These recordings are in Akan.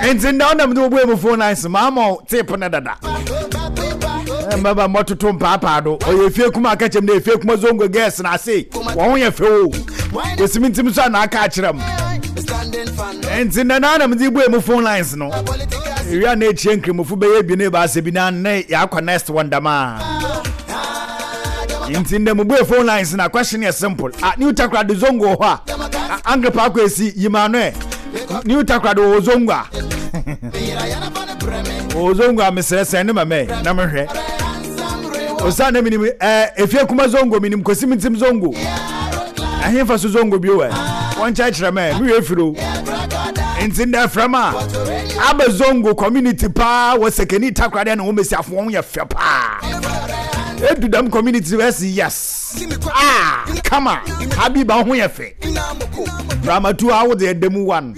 Nti ndɛ ɔnam de wɔbue mu phone lines maa ma tip no dada. Mbaba mmɔtoto mpaapaa do. Ɔyɛ efie kuma aka kyɛm dɛ efie kuma zongo girls na ase. Wɔn ho yɛ fɛ o. Kwesi ntim so a na aka akyerɛ m. Nti ndɛ na anam de bue mu phone lines no. Ewia na ekyia nkramofo bɛyɛ ebien ebaasa bi na ne yɛakɔ next one dɛm a. Nti ndɛ mo bue phone lines na question yɛ simple. Ah, New Takoradi zongo wɔ hɔ a. Angre Paako esi yimano ɛ. New Takoradi wɔ zongo a. Wɔ zongo a mesrɛ sɛn ne ma mɛ na mehwɛ. Osa na minim eh efie kuma zongo minim kwesi mintim zongo. Ɛhefa so zongo bio ɛ. Wɔn kyerɛkyerɛ mɛ me wɛ firo. Nti ndɛ frɛ ma aba zongo community paa wɔ sekeni Takoradi na wɔn mesiafo wɔn yɛ fɛ paa. Edu dɛm community wɛ si yes. Ah kama Habiba ho yɛ fɛ. Ramatu awo de ɛdɛ mu one.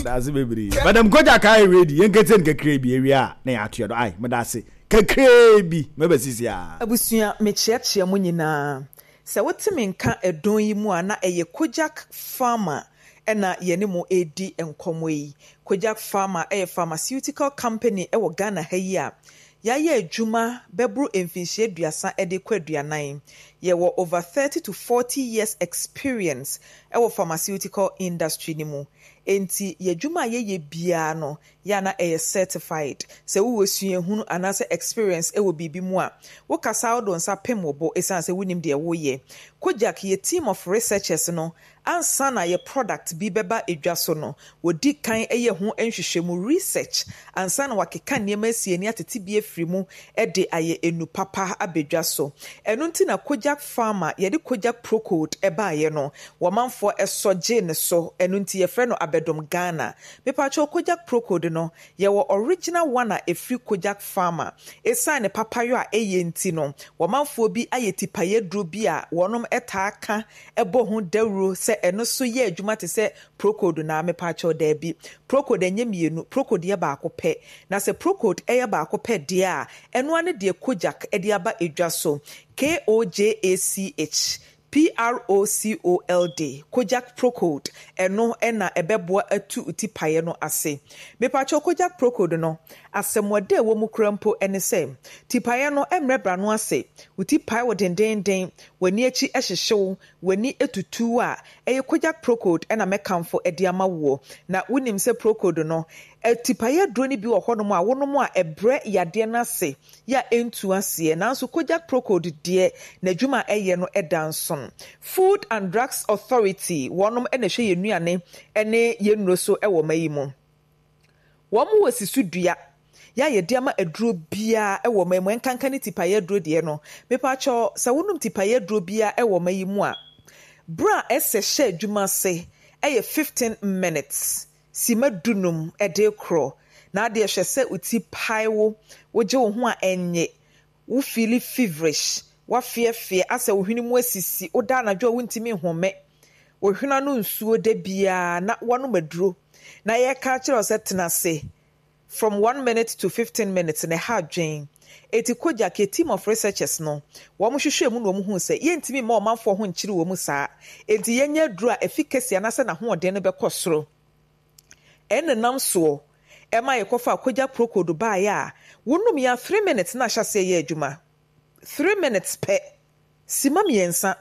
Daase bebree. Madam Koja kaa ewie di yɛn kete nkekere bi ewie a na yɛ atoa do ai medase kakraa bi mɛba sisi a. Abusua mekyeakyea mo nyinaa. Sɛ wote me nka ɛdɔn yi mu a na ɛyɛ Kojak Pharma na yɛne mo redi nkɔmmɔ yi. Kojak Pharma yɛ pharmaceutical company wɔ Ghana ha yi a yɛayɛ adwuma bɛboro mfinhyia aduasa de rekɔ aduanan. Yɛwɔ over 30 to 40 years experience wɔ pharmaceutical industry no mu. Enti yɛn adwuma a yɛyɛ biara no, yɛ a na ɛyɛ certified. Sɛ wowɔ suahunu anaasɛ experience wɔ biribi mu a, wokasa a wode wo nsa pem wo bo esiane sɛ wonim deɛ woreyɛ. Kojak, yɛ team of researchers no, ansa na yɛ product bi bɛba dwa so no, wɔdi kan yɛ ho nhwehwɛmu, research, ansa na wɔakeka nneɛma asi ani atete bi afiri mu de ayɛ nnuru papa aba dwa so. Ɛno nti na Kojak Pharma, yɛde Kojak Procold baeɛ no, wɔmanfoɔ sɔ gyee no so, ɛno nti yɛfrɛ no Abɛdom Ghana. Mepakyɛw Kojak Procold no, yɛwɔ original one a ɛfiri Kojak Pharma. Ɛsiane ne papayɔ a ɛyɛ nti no, wɔmanfoɔ bi ayɛ tipaeɛ aduro bi a wɔnom taa ka bɔ ho dawuro sɛ ɛno nso yɛ adwuma te sɛ Procold no ara. Mepakyɛw daabi, Procold ɛnyɛ mmienu, Procold yɛ baako pɛ. Na sɛ Procold yɛ baako pɛ deɛ a, ɛno ara ne deɛ Kojak de aba dwa so. KOJACH PROCOLD, Kojak Procold, ɛno na ɛbɛboa atu wo ti paeɛ no ase. Mepakyɛw Kojak Procold no, asɛmɔdɛ a ɛwɔ mu koraa mpo ne sɛ, tipaeɛ no mmrɛ brano ase, wo ti pae wo dendeenden, w'ani akyi hyehye wo, w'ani tutu wo a, ɛyɛ Kojak Procold na mɛkamfo de ama woɔ. Na wonim sɛ Procold no, tipaeɛ aduro no bi wɔ hɔnom a wonom a ɛbrɛ yadeɛ no ase yɛ a ɛntu aseɛ, nanso Kojak Procold deɛ n'adwuma a ɛyɛ no da nson. Food and Drugs Authority, wɔnom na ɛhwɛ yɛn nnuane ne yɛn nnuro so wɔ ɔma yi mu. Wɔn wɔ si so dua yɛ a yɛde ama aduro biara wɔ ɔma yi mu, ɛnkanka ne tipaeɛ aduro deɛ no. Mepaakyɛw, sɛ wonom tipaeɛ aduro biara wɔ ɔma yi mu a, berɛ a ɛsɛ hyɛ adwuma ase yɛ 15 minutes. Simma dunum de rekorɔ, na adeɛ hwɛ sɛ wo ti pae wo, wogye wo ho a ɛnnye, wo feeli feverish, woafeɛfeɛ asɛ wo hwene mu asisi, woda anadwo a wontumi nhome, wo hwene ano nsuo da biara na woanom aduro, na yɛreka akyerɛ wo sɛ tena ase from one minute to 15 minutes na ɛha adwene. Enti Kojak, yɛ team of researchers no, wɔn hwehwɛɛ mu na wɔn huu sɛ yɛntumi mma ɔmanfoɔ ho nkyere wɔn saa, enti yɛnyɛ aduro a efficacy anaasɛ n'ahoɔden no bɛkɔ soro. Ɛna nam soɔ ɛma yɛkɔfaa Kojak Procold baeɛ a wonom yɛ a 3 minutes na ahyɛaseɛ yɛ adwuma. 3 minutes pɛ, sima 3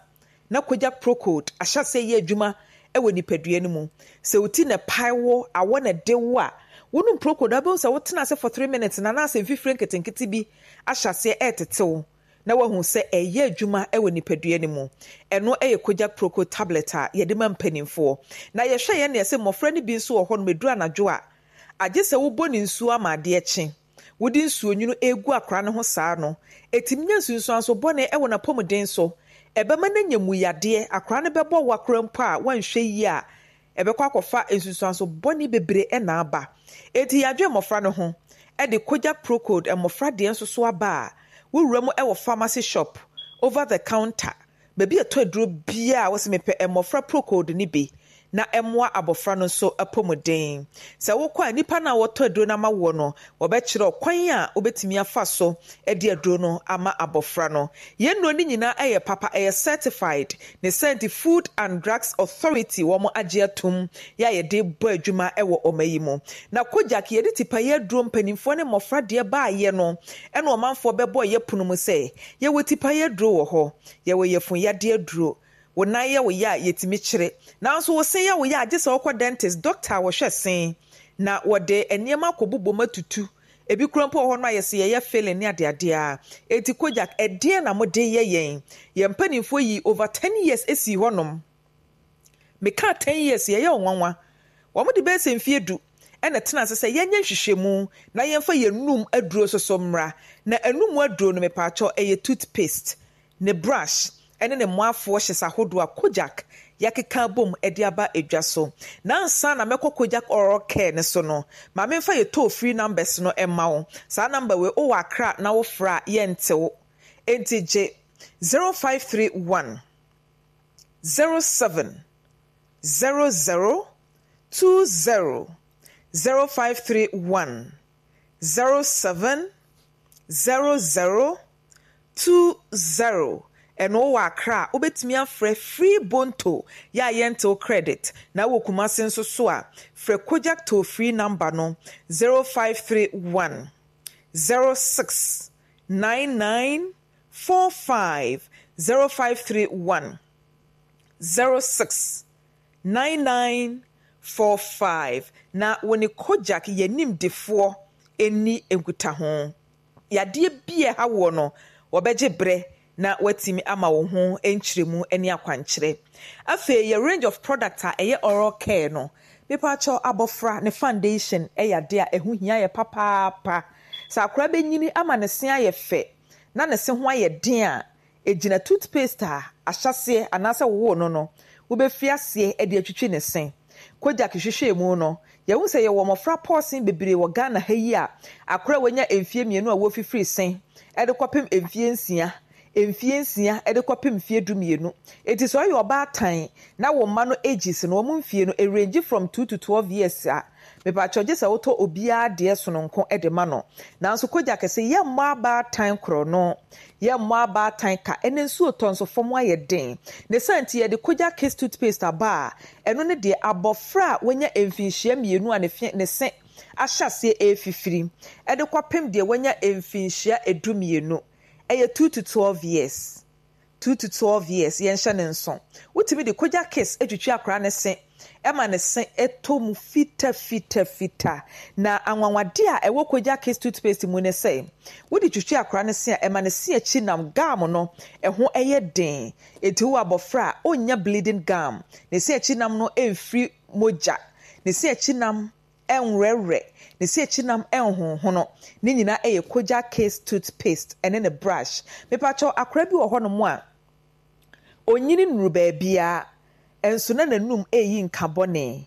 na Kojak Procold ahyɛaseɛ yɛ adwuma wɔ nipadua no mu. Sɛ wo ti na ɛpae wo, awɔ na ɛde wo a, wonom Procold a wobɛhu sɛ wotena ase for 3 minutes na anaasɛ mfifire nketenkete bi ahyɛ aseɛ ɛretetew na woahu sɛ ɛyɛ adwuma wɔ nipadua no mu. Ɛno yɛ Kojak Procold tablet a yɛde ma mpanimfoɔ. Na yɛhwɛ yɛn deɛ sɛ mmɔfra no bi nso wɔ hɔnom ɛduru anadwo a, agye sɛ wobɔ ne nsuo ama adeɛ kye. Wode nsuo nwunu regu akwadaa no ho saa no, ɛtumi nya nsunsuanso bɔne wɔ n'apɔmuden so. Ɛbɛma no anya mu yadeɛ. Akwadaa no bɛbɔ wa koraa mpo a, wanhwɛ yie a, ɛbɛkɔ akɔfa nsunsuanso bɔne bebree na aba. Enti yɛadwene mmɔfra no ho de Kojak Procold mmɔfra deɛ nso so aba a, wowura mu wɔ pharmacy shop, over the counter, baabi a ɛtɔ aduro biara a wose mepɛ mmɔfra Procold no bi. na ɛmmoa abɔfra no nso apɔmuden. Sɛ wokɔ a, nnipa no a wɔtɔ aduro no ama woɔ no, wɔbɛkyerɛ wo kwan a wobɛtumi afa so de aduro no ama abɔfra no. Yɛn nnuro no nyinaa yɛ papa, ɛyɛ certified, ne saa nti Food and Drugs Authority wɔn agye atom yɛ a yɛde bɔ adwuma wɔ ɔma yi mu. Na Kojak, yɛde tipaeɛ aduro mpanimfoɔ ne mmɔfra deɛ baeɛ no, ɛna ɔmanfoɔ bɛbɔɔ yɛ pono mu sɛ, yɛwɔ tipaeɛ aduro wɔ hɔ, yɛwɔ yafunu yadeɛ aduro, Wo nan yɛ wo ya a, yɛtumi kyere. Nanso wo se yɛ wo ya a, gye sɛ wokɔ dentist, dɔkta a wɔhwɛ se, na wɔde nneɛma akɔbobɔ mu atutu. Ebi koraa mpo wɔ hɔ nom a yɛse yɛyɛ filling ne adeade ara. Enti Kojak, ɛdeɛn na mode yɛ yɛn? Yɛn mpanimfoɔ yii over ten years sii hɔnom. Mekaa ten years, yɛyɛ wo nwanwa. Wɔde bɛyɛ sɛ mfeɛ du na ɛtenaa ase sɛ yɛnyɛ nhwehwɛmu na yɛmfa yɛn anum aduro nso so mmra. Na anum aduro no, mepaakyɛw, ɛyɛ toothpaste. ne brush ne ne mmoafoɔ hyes ahodoɔ a Kojak yɛakeka abom de aba dwa so. Na ansa na mɛkɔ Kojak Oral Care no so no, ma memfa yɛ toll free numbers no mma wo. Saa number wei wowɔ Accra na wofrɛ a yɛnte wo. Enti gye 0531 07 00 20, 0531 07 00 20 ɛno wowɔ Accra a wobɛtumi afrɛ free bonto yɛ a yɛntew credit na wɔ Kumasi nso so a frɛ Kojak toll free number no 0531 06 99 45 0531 06 99 45 na wo ne Kojak yɛ nimdefoɔ nni nkutaho. Yadeɛ bi a ɛha woɔ no, wɔbɛgye berɛ na wɔatumi ama wo ho nkyerɛmu ne akwankyerɛ. Afei yɛ range of product a ɛyɛ oral care no, mepaakyɛw abɔfra ne foundation yɛ adeɛ a ɛho hia yɛ papaapa. Sɛ akwadaa bɛnyini ama ne se ayɛ fɛ na ne se ho ayɛ den a, ɛgyina toothpaste a ahyɛaseɛ anaasɛ wowoo no no wobɛfiri aseɛ de atwitwi ne se. Kojak hwehwɛɛ mu no, yɛahu sɛ yɛwɔ mmɔfra pɔɔsen bebree wɔ Ghana ha yi a akora a wanya mfeɛ mmienu a wɔfifiri se de kɔpem mfeɛ nsia, mfeɛ nsia de kɔpem mfeɛ dumienu. Enti sɛ ɔyɛ ɔbaatan na wo mma no ages no, wɔn mfeɛ no, ɛrange from 2 to 12 years a, mepakyɛw gye sɛ wotɔ obiara deɛ sononko de ma no. Nanso Kojak se yɛmmɔ abaatan korɔno. Yɛmmɔ abaatan ka, ɛnɛ nsuo tɔ nso fam ayɛ den. Ne saa nti yɛde Kojak Kids Toothpaste aba a, ɛno ne deɛ abɔfra a wanya mfinhyia mmienu a ne fe ne se ahyɛ aseɛ refifiri de kɔpem deɛ wanya mfinhyia dumienu. Ɛyɛ 2 to 12 years. 2 to 12 years, yɛnhyɛ no nso. Wotumi de Kojak Kids twitwi akwadaa no se ma ne se tɔ mu fitafitafita. Na anwanwadeɛ a ɛwɔ Kojak Kids toothpaste mu ne sɛ, wode twitwi akwadaa no se a, ɛma ne se akyi nam, gum no, ɛho yɛ den. Enti wowɔ abɔfra a, ɔnnya bleeding gum. Ne se akyi nam no mfiri mogya. Ne se akyi nam nwerɛwerɛ, ne se akyi nam nhonhono. Ne nyinaa yɛ Kojak Kids toothpaste ne ne brush. Mepakyɛw, akwadaa bi wɔ hɔnom a, ɔnyini nnuru baabiara, nso na n'anum reyi nka bɔne.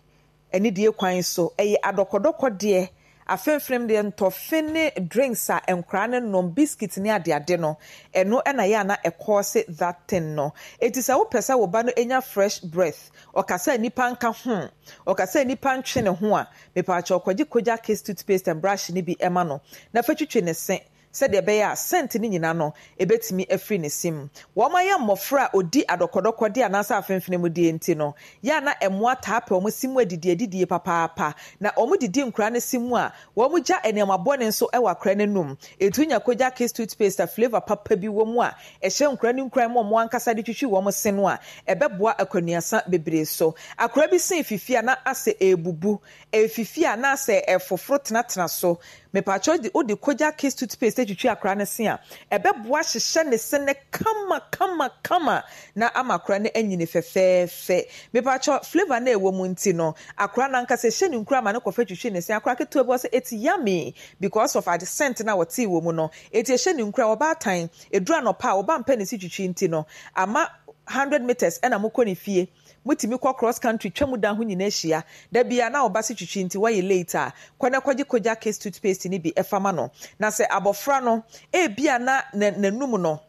Anidie kwan so, ɛyɛ adɔkɔdɔkɔdeɛ, afemfenem deɛ, ntɔfe ne drinks a nkwadaa no nom, biscuit ne adeade no, ɛno na ɛyɛ a na ɛkɔɔse that thing no. Enti sɛ wopɛ sɛ wo ba no nya fresh breath, ɔkasa a nnipa nka ho, ɔkasa a nnipa ntwe ne ho a, mepaakyɛw kɔgye Kojak Kids toothpaste and brush no bi ma no na fa twitwi ne se sɛdeɛ ɛbɛyɛ a scent no nyina no ɛbɛtumi afiri ne se mu. Wɔayɛ mmɔfra a ɔdi adɔkɔdɔkɔdeɛ anaasɛ afemfenemudeɛ nti no, yɛ a na mmoa taa pɛ wɔn se mu adidi adidie papaapa. Na wɔdidi nkoraa no se mu a, wɔgya nneɛma bɔne nso wɔ akora no anum. Enti wonya Kojak Kids toothpaste a flavour papa bi wɔ mu a ɛhyɛ nkoraa no nkuran ma wɔn ankasa de twitwi wɔn se no a, ɛbɛboa akwanuasa bebree so. Akora bi se fifi a na asɛ ɛrebubu, ɛrefifi a na asɛ ɛrefoforo tenatena so. Mepakyɛw de wode Kojak Kids toothpaste atwitwi akora no se a, ɛbɛboa ahyehyɛ ne se no kama kama kama na ama akora no anyini fɛfɛɛfɛ. Mepakyɛw, flavour no a ɛwɔ mu nti no, akora no ankasa ɛhyɛ no nkuran ma no kɔfa twitwi ne se. Akora ketewa bi wɔ hɔ sɛ it's yummy because of ade scent no a wɔtee wɔ mu no. Enti ɛhyɛ no nkuran. Ɔbaatan, ɛduru anɔpa a, wo ba mpɛ ne se twitwi nti no, ama 100 metres na mokɔ ne fie. Motumi kɔ cross country twa mu dan ho nyinaa hyia. Da biara na wo ba se twitwi nti woayɛ late a, kɔ na kɔgye Kojak Kids toothpaste no bi fa ma no. Na sɛ abɔfra no, ebia na n'anum no,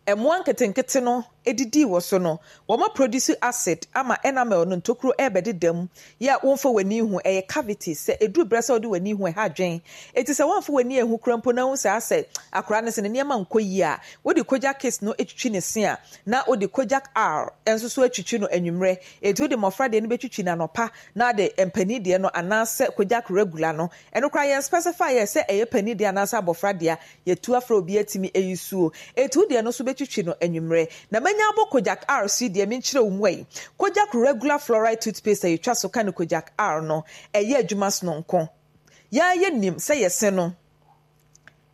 mmoa nketenkete no didii wɔ so no, wɔaproduce acid ama enamel no ntokuro rebɛdeda mu, yɛ a womfa w'ani nhu, ɛyɛ cavities, sɛ ɛduru berɛ sɛ wode w'ani hu a, ɛha adwene. Enti sɛ woamfa w'ani anhu koraa mpo na wohu sɛ asɛ akwadaa no se ne nneɛma nkɔ yie a, wode Kojak Kiss no twitwi ne se a, na wode Kojak R nso so atwitwi no anwummerɛ. Enti wode mmɔfra deɛ no bɛtwitwi no anɔpa na wode mpanin deɛ no anaasɛ Kojak Regular no, ɛno koraa yɛn specify yɛ sɛ ɛyɛ panin deɛ anaasɛ abɔfra dea, Yɛtu afrɛ obi atumi ayi suo. Eti wo deɛ no nso bɛtwitwi no anwummerɛ. Na manya abɔ Kojak R so yi deɛ menkyerɛ wo mua yi. Kojak Regular Fluoride Toothpaste a yɛtwa so ka ne Kojak R no, ɛyɛ adwuma sononko. Yɛn ara yɛnim sɛ yɛse no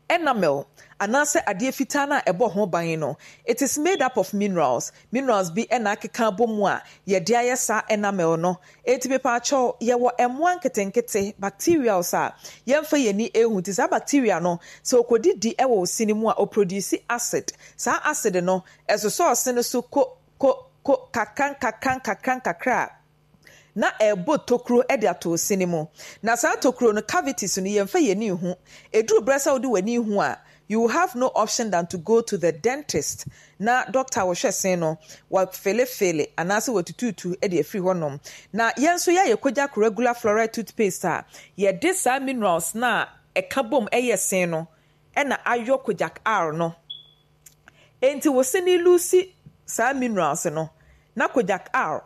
enamel anaasɛ adeɛ fitaa no a ɛbɔ ho ban no, it is made up of minerals. Minerals bi na akeka abɔ mu a yɛde ayɛ saa enamel no. Enti mepaakyɛw, yɛwɔ mmoa nketenkete, bacterials, a yɛmfa yɛn ani nhu. Nti saa bacteria no, sɛ okodidi wɔ wo se no mu a, oproduce acid. Saa acid no, ɛsosɔ ɔse no so ko, ko, ko, kakra nkakra nkakra nkakra a, na ɛrebɔ tokuro de ato wo se no mu. Na saa tokuro no, cavities no, yɛmfa yɛn ani nhu. Ɛduru berɛ sɛ wode w'ani hu a, you will have no option than to go to the dentist na dɔkta a wɔhwɛ se no wɔafeelefeele anaasɛ wɔatutuutu de afiri hɔnom. Na yɛn nso yɛayɛ Kojak Regular Fluoride Toothpaste a yɛde saa minerals no a ɛka bom yɛ se no na ayɔ Kojak R no. Enti wo se no luusi saa minerals no na Kojak R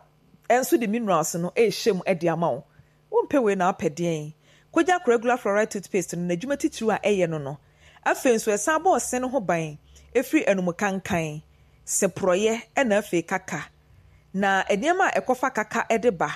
nso de minerals no rehyɛ mu de ama wo. Wompɛ wei na wopɛ deɛn? Kojak Regular Fluoride Toothpaste no, n'adwuma titiriw a ɛyɛ no no. Afei nso, ɛsan bɔ ɔse no ho ban firi anumkankan, se porɔeɛ ɛna afei kaka. Na nneɛma a ɛkɔfa kaka de ba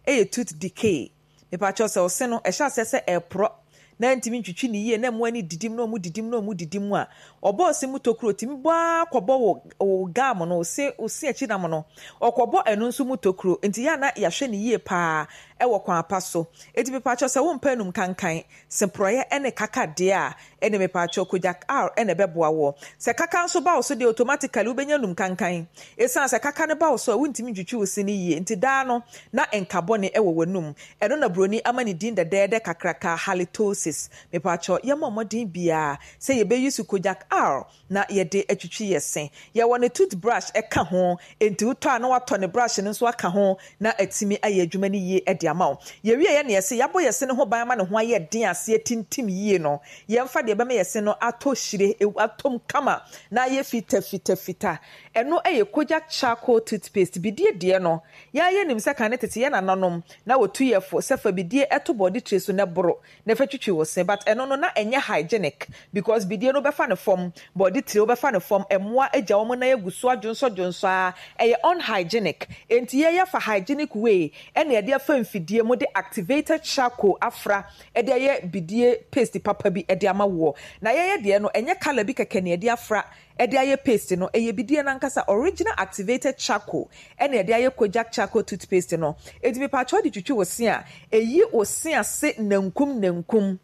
yɛ tooth decay. Mepakyɛw sɛ ɔse no ɛhyɛ aseɛ sɛ ɛreporɔ na ɛntumi ntwitwi no yie na mmoa no didi mu na wɔn didi mu na wɔn didi mu a, ɔbɔ ɔse mu tokuro, ɔtumi bɔ ara kɔbɔ wo wo gum no, wo se wo se akyi nam no, ɔkɔbɔ ɛno nso mu tokuro. Nti yɛ a na yɛahwɛ no yie paa wɔ kwan pa so. Enti mepaakyɛw sɛ wompɛ anum kankan, se porɔeɛ ne kaka deɛ a, ɛne mepaakyɛw Kojak R na ɛbɛboa woɔ. Sɛ kaka nso ba wo so deɛ automatically wobɛnya anum kankan. Ɛsiane sɛ kaka no ba wo so a wontumi ntwitwi wo se no yie nti daa no na nka bɔne wɔ w'anum. Ɛno na broni ama ne din dɛdɛɛdɛ kakraka halitosis. Mepaakyɛw yɛmmɔ mmɔden biara sɛ yɛbɛ use Kojak R na yɛde atwitwi yɛ se. Yɛwɔ ne tooth brush ka ho, enti wotɔ a na watɔ ne brush no nso aka ho na atumi ayɛ adwuma no yie de ama wo. Yɛwieɛ na yɛse yɛabɔ yɛ se no ho ban ama ne ho ayɛ den aseɛ atintim yie no, yɛmfa deɛ ɛbɛma yɛ se no atɔ hyire, atɔ mu kama na ayɛ fitafitafita. Ɛno yɛ Kojak Charcoal Toothpaste. Bidie deɛ no, yɛn ara yɛnim sɛ kane tete yɛn nananom na wɔtu yɛ fo sɛ fa bidie to bɔɔde tire so na boro na fa twitwi wo se but ɛno no na ɛnyɛ hygienic because bidie no wobɛfa no fam, bɔde tire wobɛfa no fam, mmoa agya wɔn nan agu so adwonsɔ dwonsɔ ara, ɛyɛ unhygienic. Enti yɛn yɛafa hygienic way ɛna yɛde afa mfidie mu de activated charcoal afra de ayɛ bidie paste papa bi de ama woɔ. Na yɛyɛ deɛ no ɛnyɛ colour bi kɛkɛ na yɛde afra de ayɛ paste no, ɛyɛ bidie no ankasa, original activated charcoal ɛna yɛde ayɛ Kojak charcoal toothpaste no. Enti mepaakyɛw de twitwi wo se a, ɛyi wo se ase nankum nankum.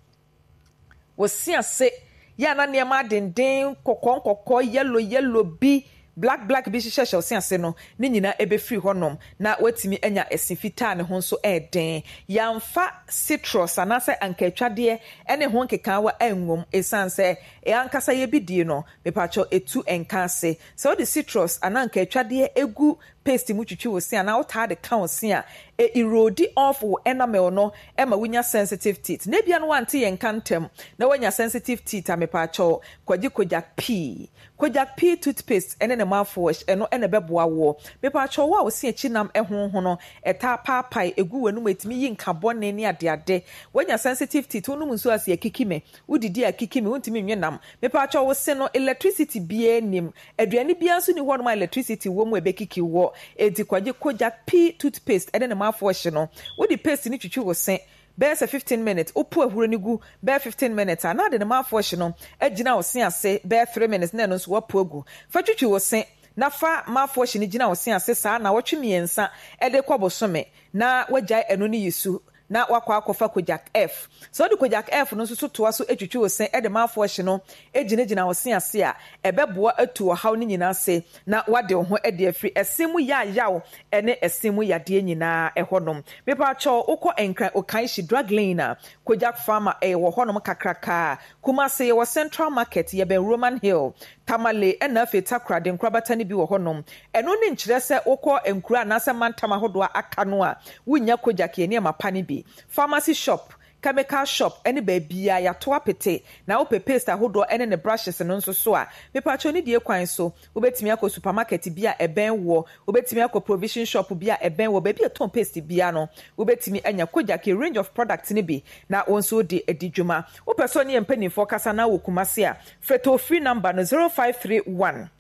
Wo se ase yɛ a na nneɛma adenden, nkɔkɔɔ nkɔkɔɔ, yellow yellow bi, black black bi hyehyɛhyɛ wo se ase no, ne nyinaa ɛbɛfiri hɔnom na woatumi anya ɛse fitaa a ne ho nso ɛɛden. Yɛamfa citrus anaasɛ ankaatwadeɛ ne ho nkekaawa anwom ɛsiane sɛ Yɛn ankasa yɛ bi die no, mepakyɛw etu nka ase. Sɛ wode citrus anaa nkaatwadeɛ gu paste mu twitwi wo se anaa wotaa de ka wo se a, e erode off wo enamel no ma wunya sensitive teeth. Na ebia no woante yɛn nka ntɛm na woanya sensitive teeth a, mepakyɛw kɔgye Kojak Pee. Kojak Pee toothpaste ne ne mouthwash, ɛno na ɛbɛboa woɔ. Mepakyɛw wo a wo se akyi nam honhono, ɛtaa paapae, egu w'anum, etumi yi nka bɔne ne adeade. Woanya sensitive teeth, wonom nsuo a se akiki me, Wodidi a kiki me, wontumi nwe nam. Mepaakyɛw wo se no electricity biaa nnim. Aduane biaa nso nni hɔnom a electricity wɔ mu a ɛbɛkiki woɔ. Enti kɔgye Kojak Pee toothpaste ɛne ne mouthwash no. Wode paste no twitwi wo se bɛyɛ sɛ 15 minutes, wopo ahuro no gu bɛyɛ 15 minutes a, na ade ne mouthwash no agyina wo se ase bɛyɛ 3 minutes na ɛno nso woapo agu. Fa twitwi wo se na fa mouthwash no gyina wo se ase saa nnawɔtwe mmiɛnsa de kɔ bosome na woagyae ɛno ne yi su. na woakɔ akɔfa Kojak F. Sɛ wode Kojak F no nso so toa so twitwi wo se de mouthwash no gyinagyina wo se ase a, ɛbɛboa atu ɔhaw no nyinaa ase na woade wo ho de afiri ɛse mu yaayaw ne ɛse mu yadeɛ nyinaa hɔnom. Mepaakyɛw, wokɔ Nkran Okaishie Drug Lane a, Kojak Pharma wɔ hɔnom kakrakaa. Kumasi yɛwɔ Central Market, yɛbɛn Roman Hill, Tamale ɛna afei Takoradi nkorabata no bi wɔ hɔnom. Ɛno ne nkyerɛ sɛ wokɔ nkuro anaasɛ mantam ahodoɔ a aka no a wonnya Kojak yɛ nneɛma pa no bi. Pharmacy shop, chemical shop ne baabiara yɛato apete. Na wopɛ paste ahodoɔ ne ne brushes no nso so a, mepakyɛw ne die kwan so, wobɛtumi akɔ supermarket bi a ɛbɛn woɔ, wobɛtumi akɔ provision shop bi a ɛbɛn woɔ, baabi a yɛtɔn paste biara no, wobɛtumi anya Kojak yɛ range of products no bi na wo nso wode adi dwuma. Wopɛ sɛ ɔne yɛn mpanimfoɔ kasa na wɔ Kumasi a, frɛ toll free number no 0531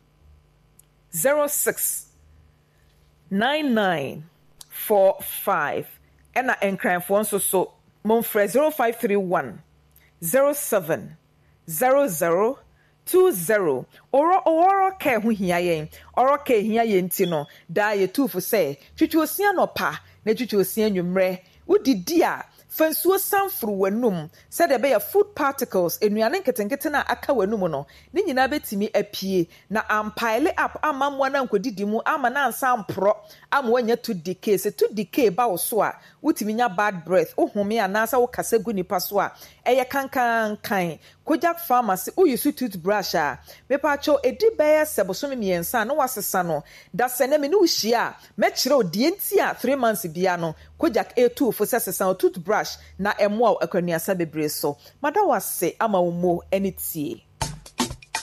06 9945 ɛna Nkranfoɔ nso so momfrɛ 0531 07 0020. Orɔ Oral care ho hia yɛn. Oral care hia yɛn nti no, daa yɛtu fo sɛ, twitwi osia anɔpa na twitwi osia anwummerɛ. Wodidi a, fa nsuo san foro w'anum sɛdeɛ ɛbɛyɛ food particles, nnuane nketenkete no a aka w'anum no, ne nyinaa bɛtumi apue na ampile up amma mmoa no ankɔdidi mu amma no ansan amporɔ amma woannya tooth decay. Sɛ tooth decay ba wo so a, wotumi nya bad breath, wohome anaasɛ wokasa gu nnipa so a, ɛyɛ kankankan. Kojak Pharma se wo use tooth brush a, mepaakyɛw ɛdi bɛyɛ sɛ bosome mmiɛnsa a na woasesa no. Dasɛ nɛ me ne wo hyia a, mɛkyerɛ wo deɛ nti a three months biara no Kojak retu wo fo sɛ sesa wo tooth brush na ɛmmoa wo akwannuasa bebree so. Mada wo ase ama wo mo ne tie.